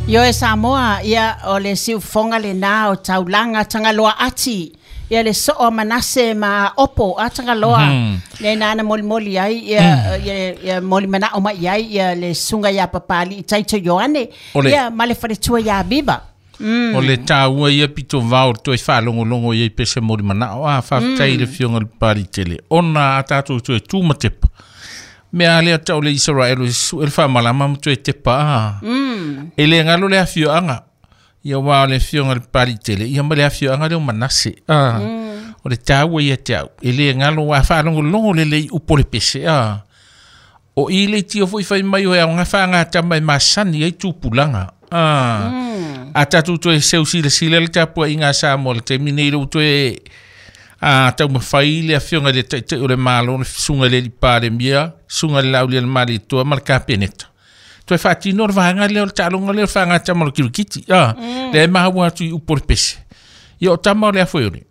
Ioe Samoa, ia o le siufofoga lenā o taulaga Tagaloa ati, ia le soo a Manase ma Aopo a Tagaloa, lena na molimoli ai ia, ia moli manao mai i ai ia le susuga ia Papalii Taito Ioane, ia ma le faletua ia Viva. O le taua ia pito vao le toe faalogologo i ai pese moli manao. A faafetai i le Afioga i le Papaliitele ona a tatou toe tu ma tepa. Mea a lea tau le Isaraelu e su'e le faamalama ma toe tepa a. E le galo le afioaga. Ia aua o le Afioga i le Papaliitele ia ma le afioaga lea o Manase. A o le taua ia te au e le galo a faalogologo lelei upu o le pese a. O i le tio foi fai mai o e aoga faagatama e masani ai tupulaga. A tatou toe seu silasila le tapuaiga a Samoa i le taimi nei lea ua toe taumafai le Afioga i le Taitai o le Malo, le Susuga i le Alii Palemia, Susuga i le Laaulialemalietoa ma le Kapeneta, toe faatino le vaega lea o le taaloga lea o le faagatama o le kirikiti. Lea e maua atu i upu o le pese. Ia o tama o le afoeole,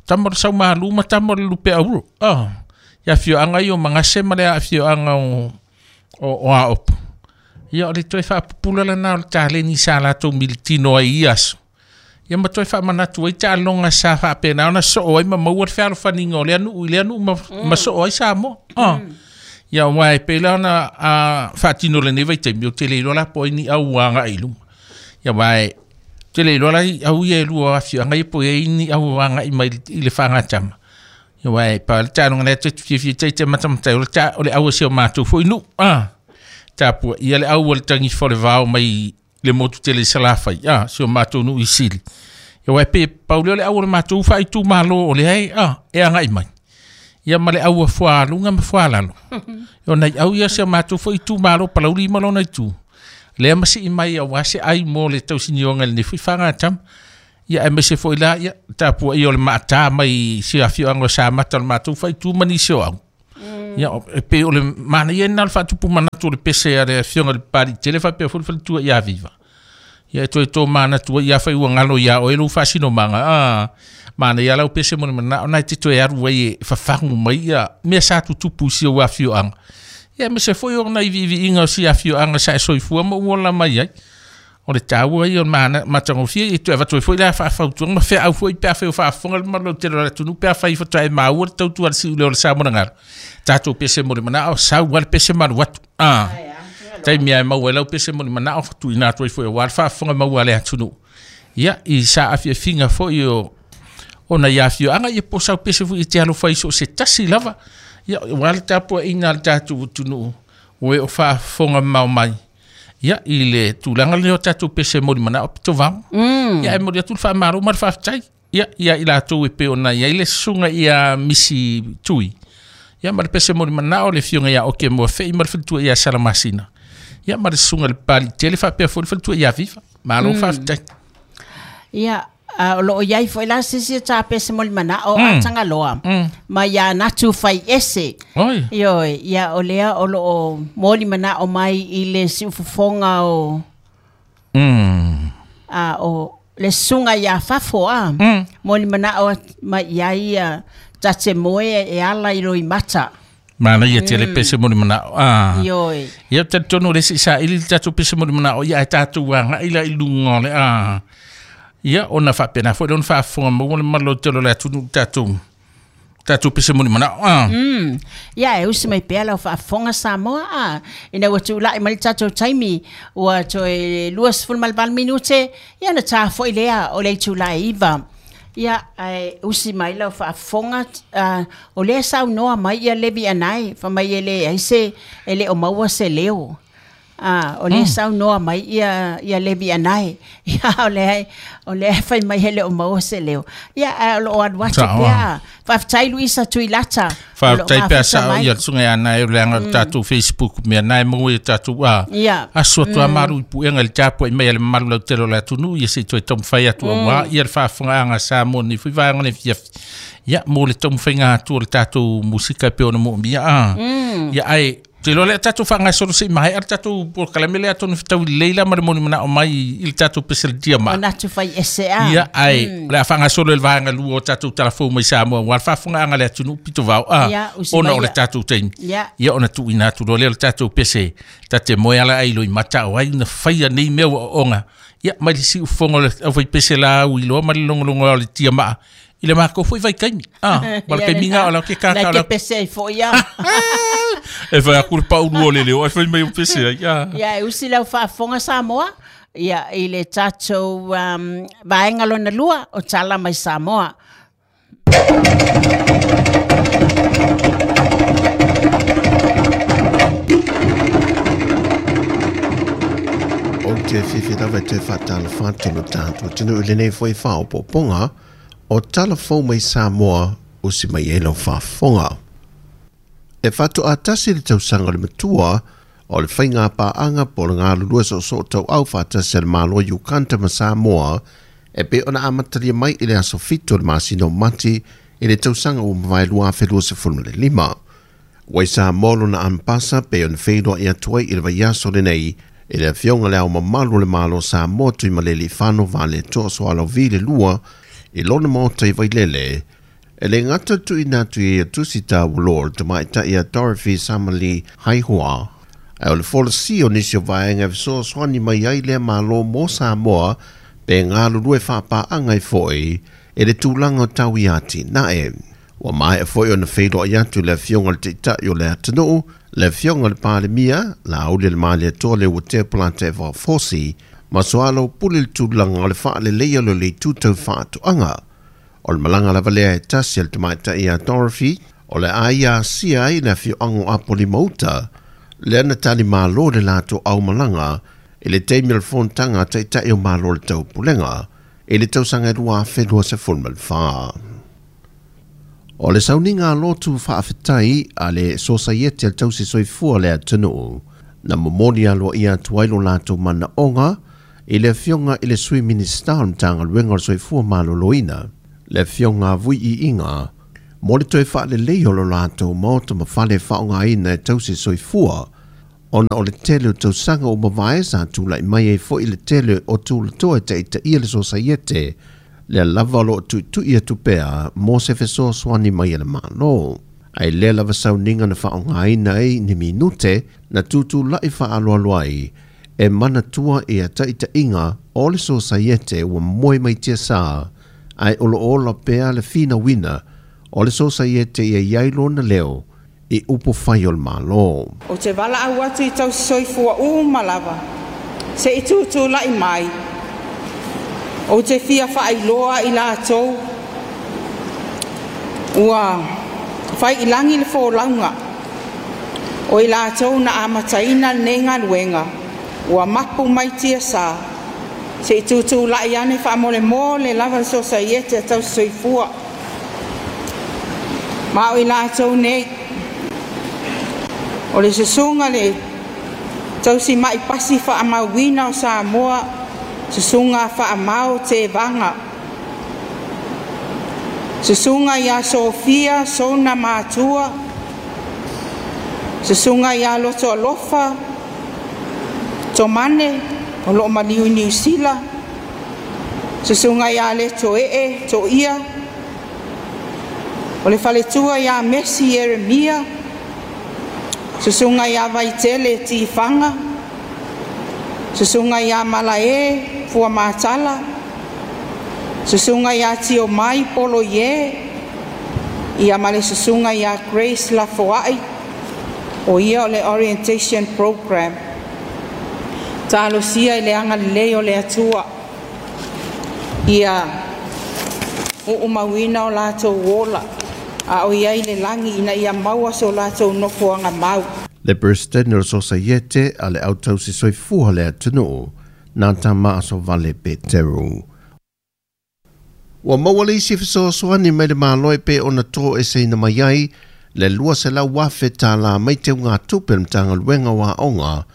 tama o le Saumalu ma tama o le Lupeauro. Ia afioaga ia o Magase ma le afioaga o Aopo. Ia o le toe faapupula lena o le taleni sa latou militino ai i ia aso. Ia ma toe faamanatu ai taaloga sa faapena ona soo ai ma maua le fealofaniga o lea nuu i lea nuu ma soo ai Samoa. Ia aua e pei la ona faatino lenei vaitaimi, ou te le iloa la po o ai ni au ua agai i luma. Ia aua e te le iloa la au ia e lua o afioaga ia po o i ai ni au agai mai i le faagatama. Ia aua e pau le taaloga lea te fiafia tai te matamatai o le ta o le au a si o matou foi nuu. Tapua ia le au o le tagifa o le vao mai le motu tele i Salafai, si o matou nuu i Sili. Ia aua e pei pau lea o le au o le matou faaitumalo o lea e, e agai mai. Ia ma le au a Fualuga ma Fualalo. O nai au ia si o matou foi itumalo Palauli ma lona itu. Lea ma sii mai aua se ai mo le tausinioga i lenei foi faagatama. Ia aemaise foi la, ia, tapuaia o le maata mai si afioaga o Samata o le matou faaitu ma nisi o au. Ia, e pei o le manaia lena o le faatupu manatu o le pese a le Afioga i le Papaliitele faapea foi le faletua ia Viva. Ia e toe tomanatu ai, ia afai ua galo ia oe lou faasinomaga, manaia lau pese mo le manao na e te toe alu ai e fafagu mai ia mea sa tutupu i si ou afioaga. Ia aemaise foi o nai viiviiga o si afioaga sa e soifua ma ou ola mai ai. O le taua ia o le matagofie, ia toe avatu ai foi le faafautuaga ma feau foi pe afai o faafofoga le mamalu lautele o le atunuu pe afai faatoa e maua le tautua a le siuleo o le Samoa tatou pese mo le manao, sau lava le pese ma alu atu. Taimi lava e maua ai lau pese mo le manao, tuuina atu ai foi aua le faafofoga maua a le atunuu. Ia, i saafiafiga foi o nai afioaga, ia po o sau pese foi e te alofa ai so o se tasi lava. Ia, aua le tapuaiga a le tatou atunuu, o e o faafofoga mamao mai. Ia, i le tulaga lea o tatou pese moli manao pito vao. Ia, e momoli atu le faamalo ma le faafetai. Ia, ia i latou e pei ona i ai le susuga ia Misi Tui. Ia, ma le pese moli manao le Afioga ia Oke Moafei ma le faletua ia Salamasina. Ia, ma le susuga i le Papaliitele faapea foi le faletua ia Viva. Malo faafetai. Ia, o lo o i ai foi la se isi o tā pese moli manao a Tagaloa ma ia Natu Faiese. Oi. Ioe, ia o lea o lo o moli manao mai i le siufofoga o o le susuga ia Fafo a. Moli manao mai i ai ia ta te moe e ala i loimata. Manaia tele pese moli manao. Ioe. Ia talitonu o le isi saili le tatou pese moli manao ia ae tatou agai la i luga o le Ia ona faapena foi lea ona faafofoga maua le mamalu lautele o le atunuu i le tatou pese moli manao. Ia e usi mai pea lau faafofoga Samoa a. Ina ua tulai mai le tatou taimi ua toe 28 minute ia ona ta foi lea o le itula e 9. Ia ae usi mai lau faafofoga o lea e saunoa mai ia Levi Anae fai mai e leai se e le o maua se leo. O lea e saunoa mai ia Levi Anae. Ia o lea e fai mai e le o maua se leo. Ia ae o lo o alu atu pea. Faafetai Luisa Tuilata. Faafetai pe a sao ia le susuga ia Anae o le aga o le tatou Facebook mea na e maua i o tatou aso atu a malu i puega i le tapuai mai a le mamalu lautele o le atunuu ia se i toe taumafai atu aua ia le faafofogaaga a Samoa nei foi vaega o le afiafi ia mo le taumafaiga atu o le tatou musika e pei ona moomia ia ae. Te iloa lea tatou faagasolo se i maea le tatou polokalame lea atonu e fetaui lelei la ma le molimanao mai i le tatou pese le tiamaa. Manatu fai ese a. Ia, ae o le a faagasolo i le vaega lua o tatou talafou mai Samoa aua le faafofogaaga a le atunuu pito vao a, Ia, usi ona mai o le ia. tatou taimi. Ia. Ia ona tuuina atu loa lea o le tatou pese ta te moe ala ai loimata o ai na faia nei mea ua ooooga. Ia, mai le siufofoga o le aufaipese la au iloa ma le logologoa o le tiamaa i le matou foi vaitaimi. Ah, ma le taimi na o la ke kaka Na o la ke pese ai foi ia. E fai aku le paulu o le leo, ai fai mai o pese ai. Ah. Ia, e usi lau faafofoga Samoa, ia, i le tatou vaega lona lua o Tala mai Samoa. Ou te fiafia lava e toe faatalofa atu i lo tatou atunuu i lenei foi faaopoopoga o Tala Fou mai Samoa usi mai ai lau faafofoga. E faatoa tasi le tausaga o le matua o le faiga paaga po o le galulue soosoo tauau faatasi a le Malo o Uganda ma Samoa e pei ona amatalia mai i le aso 7 o le masina o Mati i le tausaga ua mavae 2025. Ua i Samoa lona ampasa pei ona feiloai atu ai i le vaiaso lenei i le afioga le Ao Mamalu o le Malo o Samoa Tuimalealiifano Vaaletoa Sualauvi le lua i lona maota i Vailele. E le gata le tuuina atu i ia tusi taualoa o le tamaitai a Dorothy Samali Haihua, ae o le folasia o nisi o vaega e fesoasoani mai ai lea Malo mo Samoa pe galulue faapaaga ai foi i le tulaga o tau i atinae. Ua maea foi ona feiloai atu le afioga i le Taitai o le atunuu, le afioga i le Palemia, Laauli le Malietoa Leuatea Polataivao Fosi, ma soalaupule le tulaga o le faaleleia o le itu tau faatoaga. O le malaga lava lea e tasi a le tamaitai ia Dorothy, o le a ia asia ai le afioaga o Apolima-uta, lea na talimalo le latou aumalaga i le taimi o le fonotaga a Taitai o Malo o le Taupulega i le tausaga e 2024. O le sauniga lotu faafetai a le Sosaiete a le Tausi Soifua o le atunuu, na momoli aloaia atu ai lo latou manaoga i le afioga i le Sui Minisita o le Matagaluega o le Soifua Maloloina, le afioga a Vui Iiga, mo le toe faalelei o lo latou maota ma fale e faaaogaina e tausi soifua, ona o le tele o tausaga ua mavae sa tulai mai ai foi le tele o tulatoa e taitaia le Sosaiete, lea lava o loo tuitui atu pea mo se fesoasoani mai a le Malo. Ae lea lava sauniga na faaaogaina ai ni minute na tutulai faaloalo ai e manatua ia taitaiga o le Sosaiete ua moe mai tiasā, ae o loo ola pea le finauina o le Sosaiete ia iai lona leo i upu fai o le Malo. Ou te valaau atu i tausi soifua uma lava, se i tutulai mai. Ou te fia faailoa i latou ua fai i lagi le folauga o i latou na amataina lenei galuega ua mapu mai tiasā, se i tutulai ane faamolemole lava le Sosaiete a tausi soifua. Ma o i latou nei, o le susuga le tausi mai pasi faamauina o Samoa, susuga Faamao Tevaga, susuga ia Sofia Sona Matua, susuga ia Loto Alofa Tomane o loo maliu i Niu Sila, susuga ia Leto Ee Toia, o le faletua ia Mesi Ieremia, susuga ia Vaitele Tifaga, susuga ia Malae Fuamatala, susuga ia Tiomai Poloie, ia ma le susuga ia Grace Lafoai, o ia o le orientation program. Talosia i le agalelei o le Atua ia uumauina o latou ola, a o iai le lagi ina ia maua so latou nofoaga mau. Le Peresidene o le Sosaiete a le Au Tausi Soifua le atunuu, nā Tamaasovale Peteru. Ua maua le isi fesoasoani mai le Malo e pei ona toeseina mai ai le 200,000 tālā mai teugatupe o le Matagaluega o Aoga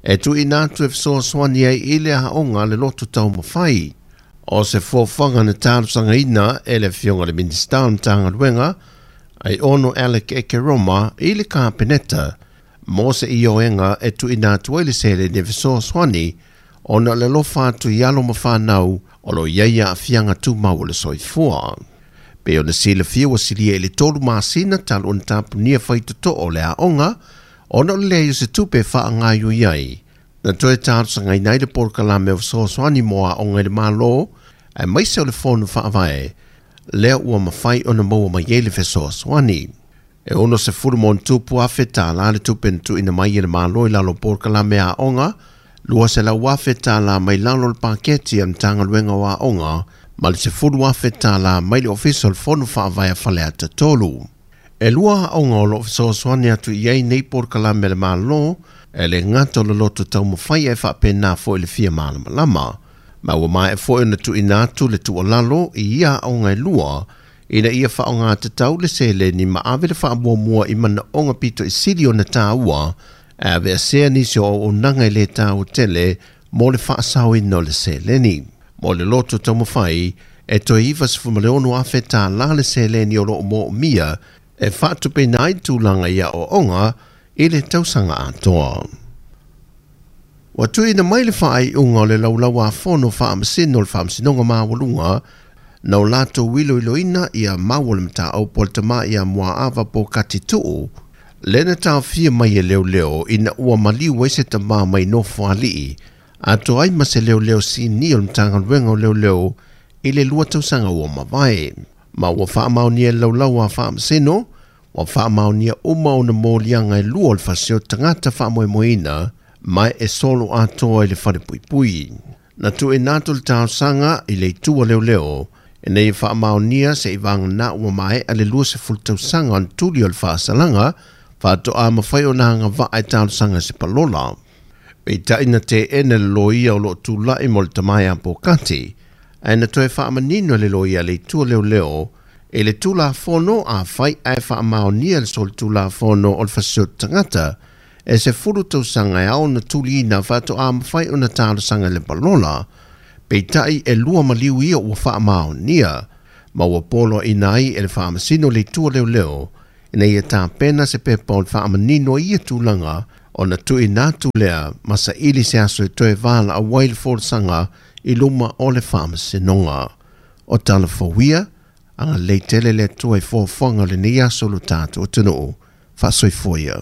e tuuina atu e fesoasoani ai i le aoga le loto taumafai. O se fuafuaga na talosagaina e le afioga i le Minisita o le Matagaluega ai ono Alec Ekeroma i le Kapeneta Mo se ioega e tuuina atu ai le seleni e fesoasoani ona o le alofa atu i alo ma fanau o lo o i ai aafiaga tumau o le soifua. Pei ona silafia ua silia i le 3 masina talu ona tapunia faitotoo o le aoga ona o le leai o se tupe e faagaoioi ai. Na toe talosagaina ai le polokalame o fesoasoani mo aoga i le Malo aemaise o le Fono Faavae lea ua mafai ona maua mai ai le fesoasoani. E $60,000 tālā le tupe na tuuina mai e le Malo i lalo o polokalame aoga, $200,000 mai lalo o le paketi a le Matagaluega o Aoga ma le $10,000 mai le Ofisa o le Fono Faavae a Faleata 3. E 2 aoga o lo o fesoasoani atu i ai nei polokalame a le Malo e le gata o le loto taumafai ae faapena foi le fia malamalama. Ma ua maea foi ona tuuina atu le tuualalo i ia aoga e 2 ina ia faaaogatatau le seleni ma ave le faamuamua i manaoga pito i sili ona tāua e aveesea nisi o auaunaga e le tāua tele mo le faasaoina o le seleni. Mo le loto taumafai e toe $96,000 le seleni o lo o moomia e faatupeina ai tulaga i aoaoga i le tausaga atoa. Ua tuuina mai le faaiuga o le laulau-a-fono faamasino o le Faamasinoga Maualuga na o latou iloiloina ia mau o le mataupu a le tama ia Muaava Pokati Tuu, le na taofia mai e leoleo ina ua maliu ai se tama mai Nofoalii, atoa ai ma se leoleo sinia o le Matagaluega o Leoleo i le 2 tausaga ua mavae. Ma ua faamaonia e le laulau a faamasino, ua faamaonia uma ona moliaga e 2 o le fasi o tagata faamoemoeina ma e solo atoa i le falepuipui. Na tuuina atu le talosaga i le itu a leoleo ina ia faamaonia se i vagana ua maea le 20 tausaga ona tuli o le faasalaga faatoa mafai ona agavaa e talosaga se palola. Peitai na teena le loia o lo o tulai mo le tama ia Pokati, ae na toe faamanino le loia le itu a leoleo e le Tulafono afai ae faamaonia le solitulafono o le fasioti tagata e 10 tausaga e ao ona tuliina faatoa mafai ona talosaga i le palola. Peitai e 2 maliu ia ua faamaonia ma ua poloaina ai e le faamasino le itu a leoleo ina ia tapena se pepa o le faamanino i ia tulaga ona tuuina atu lea ma saili se aso e toe valaau ai le folasaga i luma o le faamasinoga. O talafouia, agalelei tele le Atua i foafoaga o lenei aso o lo tatou atunuu. Faasoifoia.